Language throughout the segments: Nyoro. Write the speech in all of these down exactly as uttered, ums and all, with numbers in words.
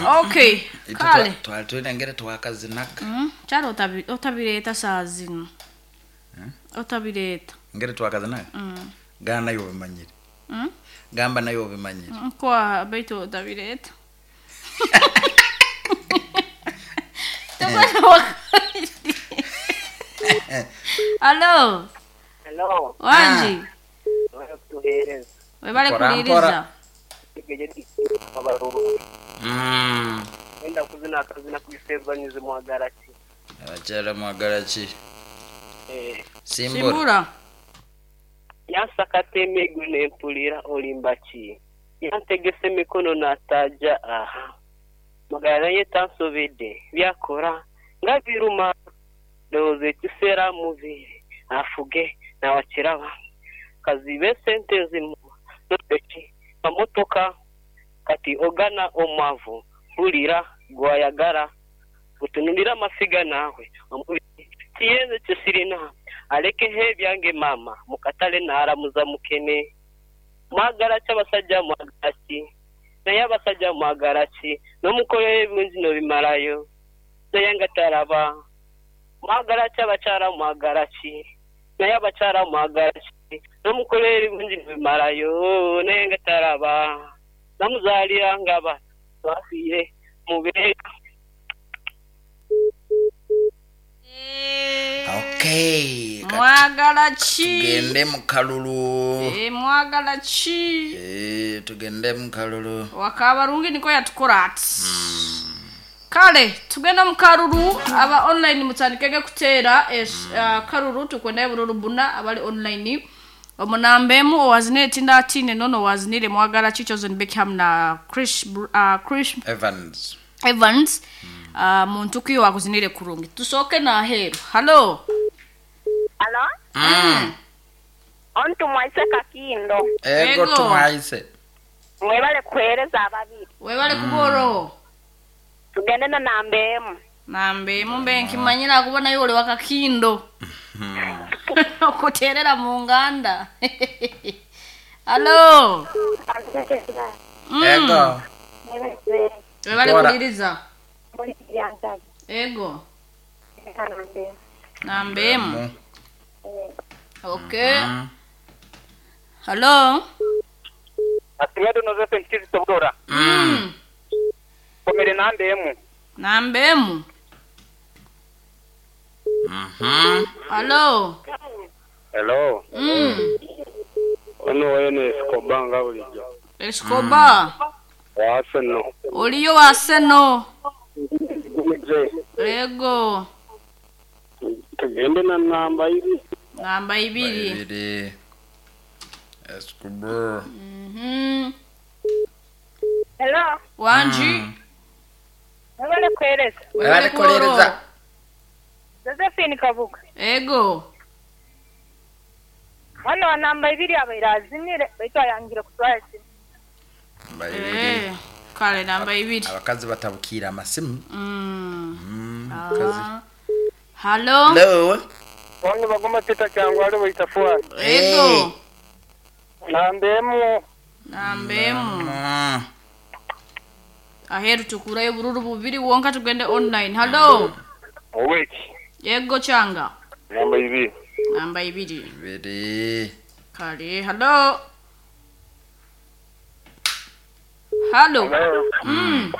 Okay, kale. Twali tulengere twakazinaka. Mm, kyali otabi- otabireeta saa zino. Otabireeta. Ngere twakazinaka. Mm. Gamba nayo obimanyire. Mm? Gamba nayo obimanyire. Kwa baitu otabireeta. Tubona wakati. Hello. Hello. Wanji. Tuhereza. Webale Mpora, kuliriza. mpora. Mm. Wenda kuzina akazina kuisebanize mwagala ki. Abakyala mwagala ki? Eh, Simbura. Simbura. yansakata emigwi nempulira olimba ki. Yantegese emikono n'ataja aha. Magala naye tansobedde byakora nga biruma. Ndowooza ekiseera mubiri afuge nawakiraba. Kazibe sente zimu nopeki mamotoka kati ogana omwavu mpulira gwayagala gutunulira amasiga naawe omubiri kiyenze kyesirina alekeho ebyange maama mukatale naaramuza mukene mwagala ki abasajja mwagala ki naye abasajja mwagala ki n'omukoleyo ebirungi n'obimalayo naye nga taraba mwagala ki abakyala mwagala ki naye abakyala mwagala ki n'omukoleyo ebirungi n'obimalayo naye nga taraba namuzaalira ngaba bafiire mubeera. Okay. Kati Mwagala ki? tugende mu kalulu. Eh, mwagala ki? Eh, tugende mu kalulu. Wakabarungi niko yatukora ati. Kale tugenda mu kalulu aba online mutandikege kuteera es, uh, kalulu tukwenda bululu buna abali online omunambemu owazinire tinda atine nono wazinire mwagala ki Chosen Beckham na Chris uh, Chris Evans. Evans uh, muntu kiyo wakuzinire kurungi tusooke naheru. Hello. Alo? Mm. Ontu mwaise kakindo. Ego Ego. tumwaise. Mwebale kuhereza ababiri. Webale kuboro. Tugende na namba emu. Nambe mumbe nkimanyira kubona yole wakakindo. Okuterera mu nganda. Hello. Mm. Ego. Webale Bora. kuliriza. Ego. Namba emu. Okay. Mm. Hello. Asimedo nozefe nkizi tobora. Mm. Komere namba emu. Namba emu. Mhm. Hello. Hello. Mm. Ono wene Escobar nga bulijjo. Escobar. Wa Arsenal. Oliyo wa Arsenal. Gumije. Ego. Tugende na namba ibiri. Namba ibiri. Ibiri. Escobar. Mhm. Hello. Wanji. Mwebale kuhereza. Webale kulereza. Josephine Kabuga. Ego. Mwana wa namba ibiri abaire azinire baitu ayangire kutwara esimu. Namba ibiri. Eh. Kale namba ibiri. Abakazi batabukira amasimu. Mm. Mm. Kazi. Ah. Hello. Hello. Ono bagoma tita cyangwa ari bayita fuwa. Ego. Namba emu. Namba emu. Mm. Aheru tukurayo bururu bubiri wonka tugende online. Hello. Oweki. Ego changa. Namba ibiri. Namba ibiri. Ibiri. Kale. Hello. Hello. Mm.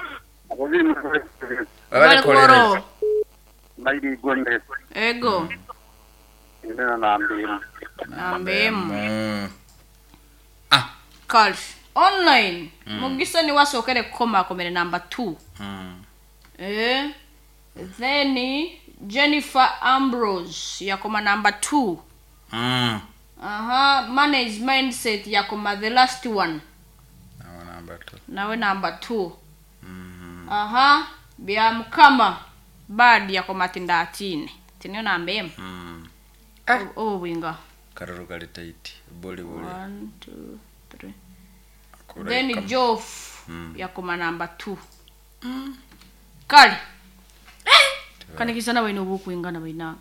Webale kulereza. Mairi gonde. Ego. Tugende na namba emu. Namba emu. Mm. Ah. Kale. Online. Mugisa ni wasookere kukoma akomere namba two. Mm. Eh. Then Jennifer Ambrose yakoma number two. Mm. Aha, manage mindset yakoma the last one. Nawe namba two. Nawe number two. Mm. Aha, bya mukama bad yakoma tindatine. Tiniyo namba emu. Mm. Obu bwinga. Karuru kali tight. Buli buli. One, two, three. Kura Then ikam- Joff Mm. yakoma number two. Kale. Kanikisana baina obukwingana bainange.